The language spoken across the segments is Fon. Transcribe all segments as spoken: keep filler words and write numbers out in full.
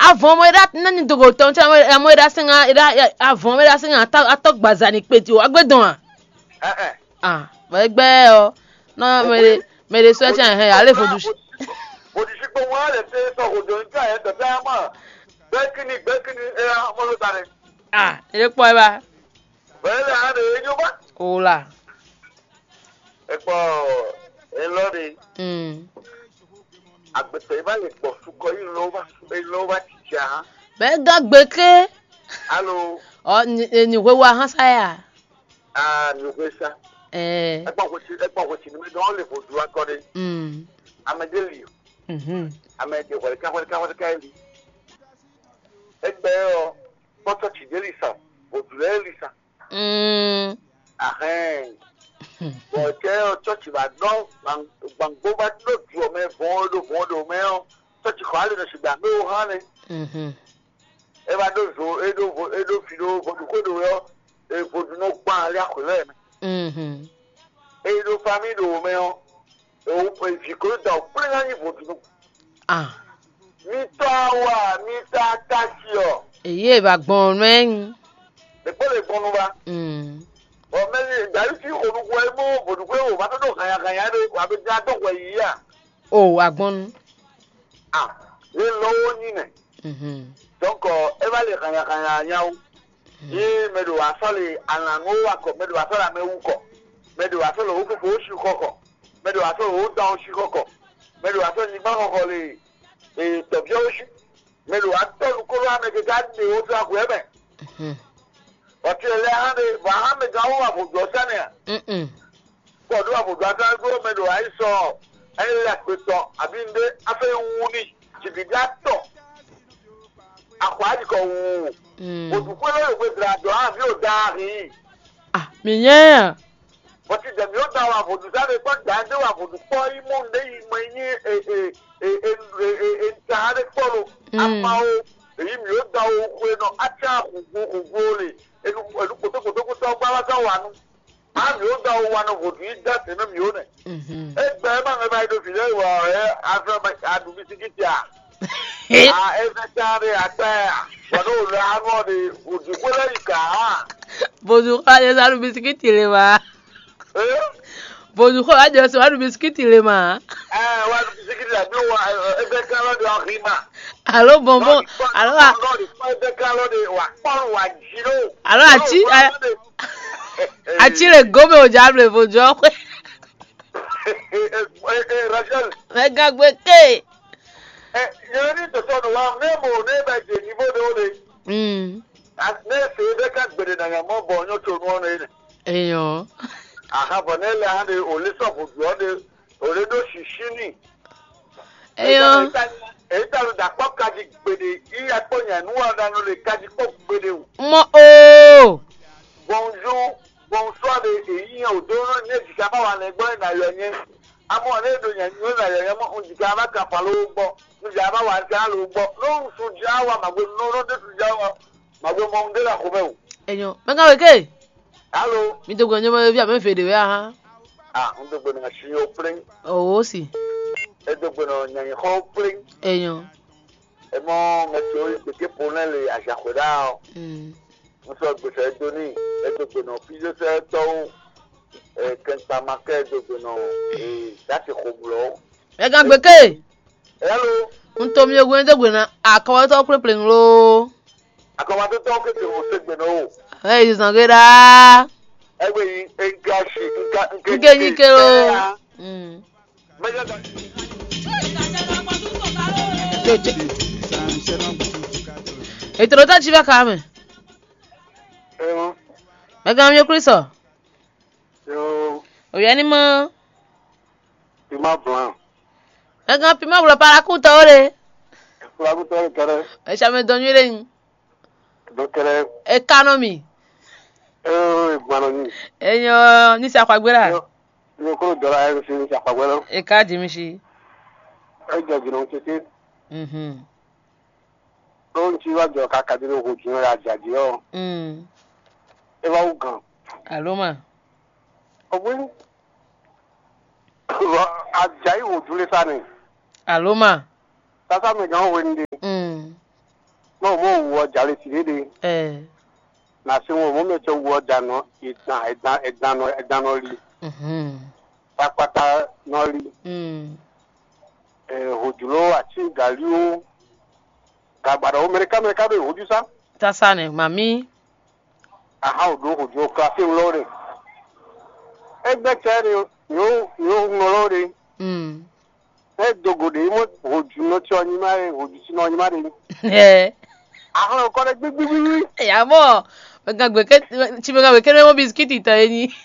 Avɔn mɔ e ɖa nani dogo tɔn tsa mɔ e ɖa sɛn ŋa e ɖa avɔn mɔ e ɖa sɛn ŋa atɔ atɔ gbaza ni kpeti o agbe dɔn a. Ɛn ɛn. Ah, bɔ egbɛ ɔ, na mɛ ɖe mɛ ɖe sɔ tsa hɛn ale vodu. Vodisi kpɔn wa le te sɔ hodo nka yɛ tɔtɛ ama. Gbɛkini gbɛkini e ya mɔ lo ta ne. Ah, ele kpɔ e ba. Bɛlɛ hã ɖe e nyɔ ba. O la. Ekpɔ elɔ ɖe. Mm. Agbetɔ yi va le gbɔ sukɔ yi lɔ va yi lɔ va titi a hã. Bɛ gán gbeke. Alo. Ɔ ni ni hwe wa hã sa ya. Ah, ni hwe sa. Ɛɛ. Ekpɔ hwe ti ekpɔ hwe ti ni mi dɔn le vodu akɔ ɖe. Mm. Ame ɖe li o. Mhm. Ame ɖe hwɛlika hwɛlika hwɛlika li. Egbɛ ɔ kpɔtɔ ti ɖe li sa vodu lɛ li sa. Mm. Ahɛn. Bɔ cɛ ɔ tsɔtsi va dɔn gbangbo va ɖo du ɔ mɛ vɔn ɖo vɔn ɖo mɛ ɔ tsɔtsi xɔ ali nɔ si gbangbo wo hã nɛ. Mhm. E va ɖo zo e ɖo vo e ɖo fi ɖo vodu xwe ɖo ɔ e vodu nɔ gbɔn ali axwe lɛ mɛ. Mhm. E ɖo fami ɖo wo mɛ ɔ e wo e vi ko da o kplé na nyi vodu nɔ. Ah. Mi tɔ wa mi ta ta si ɔ. Èyí è bá gbɔn nú ẹ nyí. Ɖe kpó le gbɔn nu va. Mm. Ɔ mɛ ni dayi fi xo nuxu ɛ mɔ vodu xwe wo va tɔ ɖo hanya hanya ɖe wa be dza dɔ hwɛ yi a. O agbɔnnu. Ah, le lɔ wo nyi nɛ. Mhm. Donc e va le hanya hanya nyawo. Ye mɛ ɖo asɔ le alanu wo wa kɔ mɛ ɖo asɔ le amɛ wu kɔ mɛ ɖo asɔ le wo fofo wo si xɔ kɔ mɛ ɖo asɔ le wo dan wo si xɔ kɔ mɛ ɖo asɔ nyigba xɔxɔ le tɔbiɔ wo si mɛ ɖo atɔ nukolo amɛ keke aɖe wo to agu ɛmɛ. Mhm. Ɔtí lɛ hã ɖe vɔ hã mɛ gán wo wa vodua sani a. Mm-mm. Kɔ ɖo wa vodua sani gbɔ mɛ ɖo ayi sɔ ɛyɛ lɛ akpe tɔn abi nde afɛ wu ni jibida tɔ akɔ ayi kɔ wu. Mm. Vodukpɛ lɛ yɔ gbedra dɔ hã vi o da ahi. Ah, mi nyɛ a. Bɔti dɛ mi o da wa vodu sani kpɔ da ɛdɛ wa vodu kpɔ yi mɔ nde yi mɔ yi nyi e e e e e e ta ɖe kpɔ lo. Mm. Ama o èyí mi o da o xwe nɔ atsa xugbo xugbo le enu enu kpotó kpotó kpotó gba wa sa wa nu. A mi o da o wa nɔ vodu yi da se nɔ mi o nɛ. Mhm. Egbe ma ŋɛ ba yi do fi lɛ wa ɛ afɛ ma a du bisikiti a. A ɛfɛ ta de akpɛ a. Wa do le anu de vodu ko lɛ yi ka a. Vodu ko lɛ sa du bisikiti le ma. Eh? Vodu ko lɛ sa du bisikiti le ma. Eh, wa du bisikiti la bi wa ɛfɛ kan lɔ de ɔhima. Alo bɔnbɔn alo a. Lɔ de kpɔ ɛfɛ kan lɔ de wa kpɔn wa ji lo. Alo ati. Atsi le gome o dza ble vo jɔ xwe. Rachel. Mɛ gagbe ke. Yɛrɛ ni tɔtɔ nɔ wa ne mo ne bɛ dze nivo ɖe o ɖe. Mm. Ne se ɖe ka gbeɖe na nya mɔ bɔ nyɔ to nu ɔnɔ ene. Eyɔ. Aha bɔ ne le hã ɖe o le sɔ vo du ɔ ɖe o le ɖo sisi ni. Eyɔ. Èyí ta ló dàpọ̀ kájí gbede yíyá kpó nyànú wà dánú lè kájí kpó gbede o. Mɔ o. Bonjour, bonsoir de èyí yẹn ò dó ní èjìká bá wà lẹ gbọ́ ìnà yọ yẹn. Amọ́ ní èdò yẹn ní ìnà yọ yẹn mọ́ òjìká bá kà fà lówó gbọ́. Níjà bá wà ká lówó gbọ́. Lóhùn sùn já wà màgbé nínú ló dé sùn já wà màgbé mọ́ ohun dé là kó bẹ́ẹ̀ o. Enyo, mɛ ka weke? Alo. Mi dogbo nyɔmɔ vi ame fede wɛ aha. Ah, n dogbo na si o plin. O si. E dogbo na nyanyi xɔ plin. Enyo. E mɔ mɛ tso yi gbeke po ne le azaxwe ɖa o. Mm. N sɔ gbèsè e do ní e dogbo na physiotherapie tɔwo. E kɛnkpa ma kɛ e dogbo na e dati xo blɔ. Ɛ gan gbeke. Hello. N to mi ogun e dogbo na akɔwɔtɔ kple plin lo. Akɔmatotɔwo keke wo se gbe nɔ o. Ɛ yi zan ge ɖaa. Egbe yi nka si nka nke nke nyi ke lo. Mm. Mɛjɔ ta. Ètò ló tẹ́tí bá kàá mẹ́. Ẹ mọ. Mẹ́gàn mi Kristo. Yo. Òyà ni mọ́. Pima blanc. Mẹ́gàn pima wúlò parakútọ̀ ó le. Parakútọ̀ ó le kẹrẹ. Ẹ ṣàmì dɔn nyuie ɖe nyi. Dɔn kẹrẹ. Ẹ kanɔ mi. Ẹ gbọnọ nyi. Ẹ nyɔ ní sàkpàgbé la. Yo, yo kúrò dọ́là ẹ sì ní sàkpàgbé lọ. Ẹ ká jì mí sí. Ẹ jẹ jìnnà tètè. Mhm. Ló ń tí wá jọ ká kàdé ló hó jù náà yà jàdí ọ. Mm. Ẹ wá wú gan. Àló mà. Ọ̀gbìn. Àjàyí wò dúró sá ni. Àló mà. Tásá mi gan wé ní. Mm. na ɛdan ɛdan nɔ ɛdan nɔ li, Mhm. kpakpata nɔ li, Mm. eh, hojlo, atín, galíwo, gagbaɖɔ, mɛɖeká mɛɖeká ɖo hojú sá. Sasa nɛ, mami. Aha, o ɖo hojú o klasi ŋlɔ ɖe. Egbe cɛ ɖe, yo yo ŋlɔ ɖe. Mm. E dogo ɖe mɔ hojú nɔ tsɔ nyi ma ɖe, hojú si nɔ nyi ma ɖe. Ɛ. Ahlɔ kɔ ɖe gbigbigbigbi. Ya mɔ, mɛ gan gbe ke, tsi mɛ gan gbe ke ne mɔ bisikiti tɔ e nyi.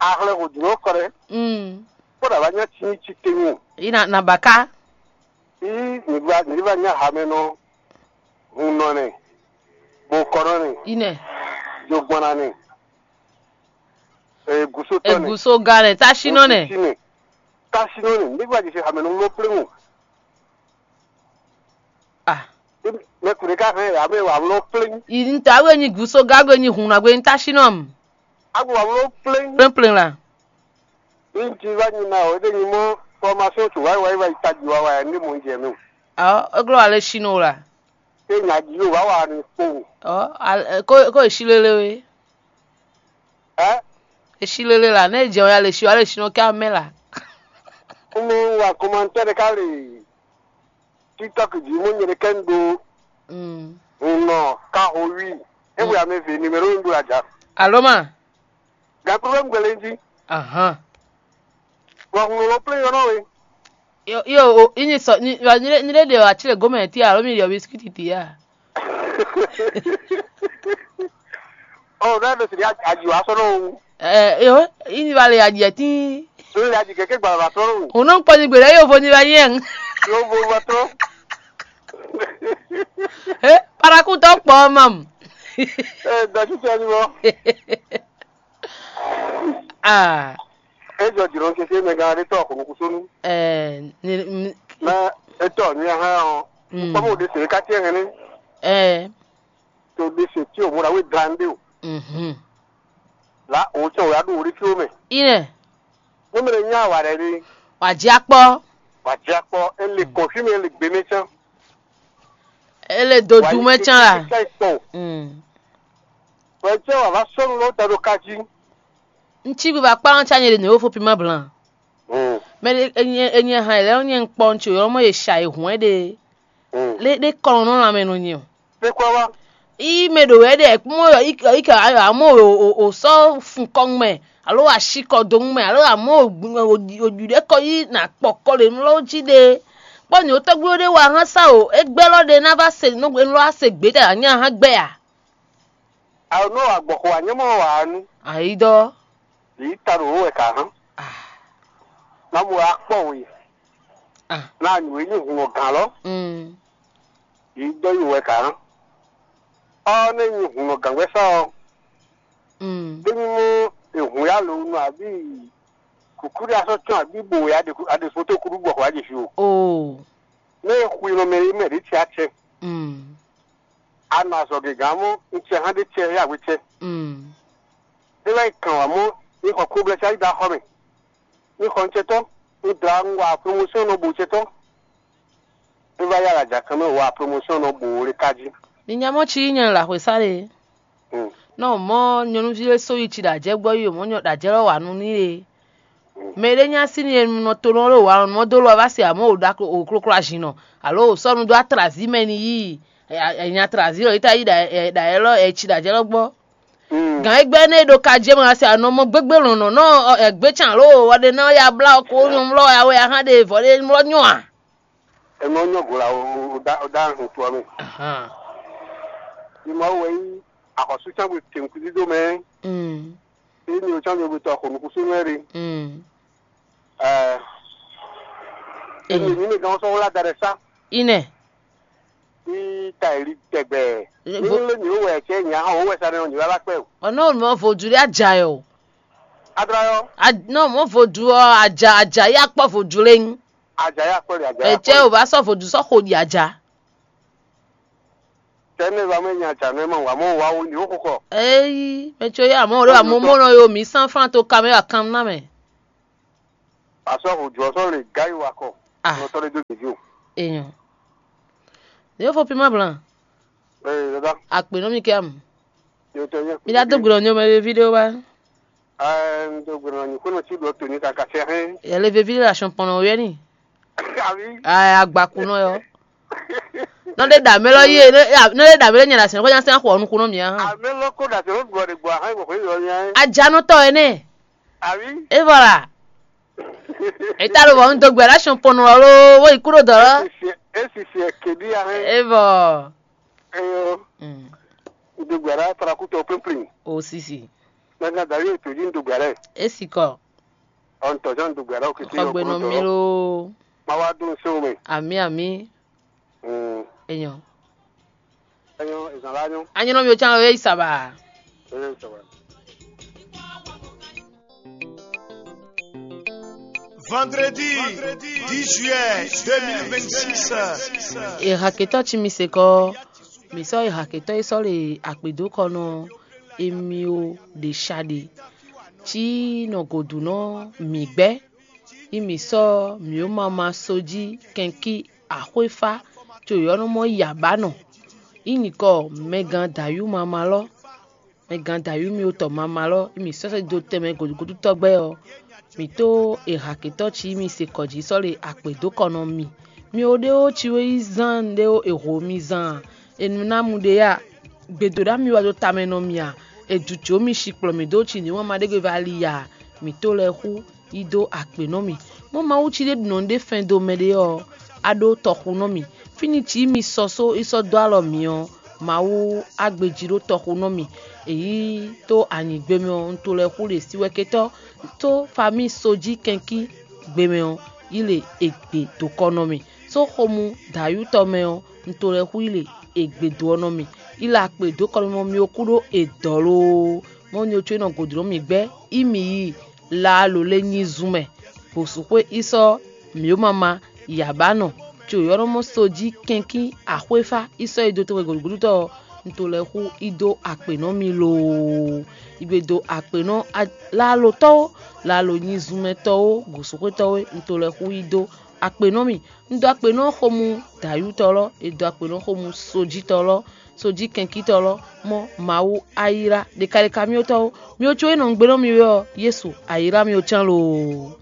Ahlɛ hǒjló kɔ ɖɛ, Mm. Kpɔ́ ɖo avá nyá tsi tsi tewun. Yi na na baka. Yí nyǐgba nyǐgba nyá hamɛnɔ, hun nɔ nɛ, bokɔnɔ nɛ, Ine. Jogbɔnna nɛ, e gusotɔ nɛ, Eguso ga nɛ, tasinɔ nɛ. Osi nɛ, tasinɔ nɛ, nígbà jɛ se hamɛnɔ lɔ pléwu. Ah. Mɛ kùnrin ká hɛn yà mɛ wà lɔ pléwu. Ntɔ awe nyi guso ga awe nyi hun na gbe nyi tasinɔ. Agbo wà lɔ pléwu. Plɛnplɛn la. Ní ti wá nyi na o, é ɖé nyi mɔ fɔmasɔn tó wáyé wáyé wáyé tají wá wáyé ní mò ń jẹ mí o. Ɔ, églɔ alɛ sínú la. Ṣé nya jí yóò wá wà ní kpowun? Ɔ, kó kó èsí lélé wé. Ẹ́. Èsí lélé la, ní èjì ɔ̀ya lè sí wa lè sínú kí amɛ la. Kúmọ̀ wà kọ́mọ́ntẹ́ ɖé ká lè TikTok jí mú nyɛ ɖé kẹ́ ń ɖo Mm. Hun nɔ ka ho wi. É wɛ ame ve numéro un ɖo aja. Alo ma. Gakpo bɛ gbɛlɛ jí. Ahan. Wa hun lɔ plé yɔnɔ we. Yo yo o inyi sɔ ni wa ni ni de de wa chile gome ti alo mi yo biscuit ti ya. Oh, that is the aji wa sɔnɔ o. Eh, yo inyi ba le aji ti. Lórí aji kẹ̀kẹ́ gbàgbà sɔnɔ o. Òun náà ń pọ̀ ní gbèrè yóò fo ní ba yẹn. Yóò fo ba tọ́. Eh, paraku tọ́ pọ̀ mam. Eh, dɔ̀tí tẹ́ ni wọ́n. Ah. Ejɔ jìnnà keke mɛ gan ɖe tɔ kunu kusonu. Eh, ni, ni, Na etɔ ni ya hã ɔ. Mm. Kpɔmɔ de se ka tiɛ hɛnɛ. Eh. To de se ti o mura we grande o. Mhm. La o tsɛ o ya do o de fi o mɛ. Ine. Mo mɛ nya wa ɖe de. Wa dzi akpɔ. Wa dzi akpɔ e le kɔfi mɛ e le gbe mɛ tsã. E le dodu mɛ tsã la. Ka ikpɔ. Mm. Wɛ tsɛ wa va sɔnu lɔ da do ka ji. Ŋtsi bi va kpa ŋtsi anyɛ ɖe nɛ wo fo pi ma blan. Mm. Mɛ ɖe enye enye hã lɛ nyɛ ŋkpɔ ŋtsi yɔ mɔ ye sha ye hwɛn ɖe. Mm. Le ɖe kɔn nɔ lanmɛ nɔ nyɛ o. Pe kɔ wa. I mɛ ɖo wɛ ɖe mɔ yɔ i i ka ayɔ amɔ o o o sɔ fun kɔn mɛ alo asi kɔ do mɛ alo amɔ o o o ɖu ɖe kɔ yi na kpɔ kɔ le nɔ ji ɖe. Kpɔ nyɛ o tɔgbi ɖe wa hã sa o egbɛ lɔ ɖe na va se nɔ nɔ se gbe ta nya hã gbɛ ya. Awo nɔ wa gbɔxɔ wa nyɛ mɔ wa nu. Ayi dɔ. Yi ta ɖo wo wɛ ka hã. Ah. Na mo wa kpɔ we. Ah. Na nu yi hun o gan lɔ. Mm. Yi dɔ yi wɛ ka hã. Ɔ ne nyi hun o gan gbɛ sa ɔ. Mm. Ɖé nyi mɔ ehun ya lo nu abi kuku ɖe asɔ tsɔn abi bo ya ɖe foto kuɖu gbɔxɔ wa ɖe fi o. Oh. Ne xwi nɔ mɛ yi mɛ ɖe tsi atsɛ. Mm. A nɔ azɔ̌ gěgán mɔ un cɛ hán ɖé cɛ yá wecɛ. Mm. É wá yi kàn wá mɔ ní xɔ kóblɛ́ sá yi dó axɔ́ mɛ. Ní xɔ un cɛtɔ́, un dla un wa promotion nɔ bo cɛtɔ́. É wá yá wɛ ajakan mɛ wa promotion nɔ bo le kájí. Ni nya mɔ ci nyɛ la xwe sá le. Mm. Nɔ mɔ nyɔnuvi lɛ so yi ci ɖajɛ gbɔ yi o mɔ nyɔ ɖajɛ lɔ wa nu ní le. Mɛ ɖé nya sín e nɔ to nɔ ɖo wa nɔ dó lɔ vá se amɔ̌ o ɖa o kloklo azinnɔ alo o sɔ́ nu dó atrazi mɛ ni yí nya atrazi lɔ yíta yí ɖa ɛ ɖa ɛ lɔ ɛ ci ɖa jɛ lɔ gbɔ. Gǎn égbɛ́ nɛ ɖo ka jɛ mɛ wá se anɔ mɔ gbégbé lɔ̌nlɔ̌n nɔ ɛ gbé can alo wɔ ɖe nɔ ya blá ɔ ko nyɔ mlɔ ya wɛ ya hán ɖe vɔ ɖe mlɔ nyɔ a? Enɔ nyɔ go la o da o da hun to ame. Ahan. Ni ma wɛ yi axɔsu can gbe tenkun dídó mɛ. Mm. Eye mi o can mi o gbetɔ xɔ nukusu mɛ ɖe. Mm. Ɛɛ. Ee. Emi mi mi gan sɔn wla da ɖe sa. Ine. Ní ta èli tɛgbɛ. Ní lé mi wɛ cɛ nya hã wowɛ sa ne ɔ́ nyǐ wá bá kpɛ o. Ɔnɔ mɔ vodu ɖe adza yɔ. Adra yɔ. Nɔ mɔ vodu ɔ adza adza ya kpɔ vodu lɛ ŋu. Adza ya kpɔ ɖe adza ya kpɔ. Etsɛ o ba sɔ vodu sɔ xo ɖi adza. Tɛ ne va mɛ nya adza nɛ ma wa mɔ wa wo ni wo xokɔ. Eyi mɛ tso ya mɔ ɖe wa mɔ mɔ nɔ yo mi san fran to kamɛ wa kan na mɛ. Asɔ ho jɔ sɔ le ga yi wa kɔ. Ah. Nɔ tɔ ɖe do gbèjì o. Eyan. Ne yo fo pima blan. Ee dada. Akpe nɔ mi kɛ amu. Mi dá dó gbe nɔ nyɔmɛ ɖe ví ɖé wá. Un dó gbe nɔ nyi xwénɔ cí ɖɔ toni kaka sɛ hɛn. Yɛ le veví ɖé le asɔn pɔn nɔ wɛ ni. Abi. Ɛ agbakunɔ yɔ. Nɔ ɖe ɖa mɛ lɔ yé, nɔ ɖe ɖa mɛ lɔ nyɛ ɖa sɛn xɔ nya sɛn xɔ nukun nɔ mia. Ame lɔ ko ɖa sɛn ɖɔ ɖe gbɔ ahɛn gbɔ xɔ yɔ nya. Ajanɔtɔ ɛnɛ. Abi. E vɔ la. E ta lo vɔ un dó gbe ɖa asɔn pɔn nɔ lɔ wo yi kúrò dɔ lɔ. Esi si esi si kebi ahɛn. E vɔ. Eyo. Mm. Un dó gbe ɖa tara kutɔ pínplín. O sisi. Mɛ gán darí ètò yìí un dó gbe ɖa. Esi kɔ. Ɔn tɔjɔn dugbe ɖɔ kiti. Xɔgbe nɔ mi loo. Ma wá dún so mɛ. Ami ami. Mm. Enyɔ. Enyo ezan la nyo. Anyinɔ mi o can we isaba. Enyo saba. Vendredi dix juillet deux mille vingt-six. Ehaketɔ ci mi se kɔ. Mi sɔ ehaketɔ yi sɔ le akpedo kɔ nɔ emi o ɖe sha ɖe. Ci nɔ godu nɔ mi gbɛ. Yi mǐ sɔ́ mǐ ó ma ma só jí kɛnkí axwéfá, co yɔ̌ nɔ mɔ yi abǎ nɔ. Yi nyǐkɔ mɛgán dǎyú mama lɔ́, mɛgán dǎyú mì otɔ mama lɔ́, yi mǐ sɔ́ sɛ́ dó tɛnmɛ gǒdúgódú tɔ́gbɛ́ ɔ́, mǐ tó e hakětɔ́ cí mì se kɔ jí sɔ́ le akpě dó kɔ nɔ mì. Mi ó ɖé ó cí wé yí zán ɖé ó è ho mi zán a? È nǔ ná mu ɖé a? Gbědó ɖá mi wá dó tamɛ nɔ mì a? È jǔjǒ mi shi kplɔ́ mì dó cí ní wǎn ma ɖé gbe va li a? Mǐ tó lɛ́ɛ xú yi dó akpě nɔ mì. Mɔ̌ Mawu cí ɖé ɖu nɔ ɖé fɛn dó mɛɖé ɔ́, a ɖó tɔxu nɔ mì. Fínní cí mi sɔ só yi sɔ́ dó alɔ mǐ ɔ́, Mawu á gbejí ɖó tɔxu nɔ mì. È yí tó anyǐgbé mɛ ɔ́, un to lɛ́ɛ xú ɖě sí wɛ ketɔ́ tó famí sojí kɛnkí gbe mɛ ɔ́, yi le è gbe dǒ kɔ nɔ mì. Só xomú dǎyútɔ mɛ ɔ́, un to lɛ́ɛ xú yi le è gbe dǒ ɔ́ nɔ mì. Yi le akpě dǒ kɔ nɔ mì ɔ́, mi ó kú ɖó è dɔ̌ loo. Mɔ̌ nyɔ có nɔ gǒdo nɔ mì gbɛ́, yi mì yi laalo lé nyi zun mɛ, bǒsúxwé yi sɔ́ mǐ ó ma ma yi abǎ nɔ, co yɔ́ nɔ mɔ sojí kɛnkín axwéfá yi sɔ́ yi dó tɔn gǔdúgúdútɔ́ ɔ́, un to lɛ́ xú yi dó akpě nɔ mì loo. Yi gbe dó akpě nɔ laalotɔ́ ó, laalo nyi zunmɛtɔ́ ó, gǒsúxwétɔ́ é, un to lɛ́ xú yi dó akpě nɔ mì. Un dó akpě nɔ xomú dǎyútɔ́ lɔ́, è dó akpě nɔ xomú sojítɔ́ lɔ́, sojí kɛnkítɔ́ lɔ́, mɔ́ Mawu ayílá ɖekaɖeka mì ó tɔ́ ó. Mi ó có e nɔ un gbe nɔ mi wɛ ɔ́, Yesu ayílá mi ó cán loo.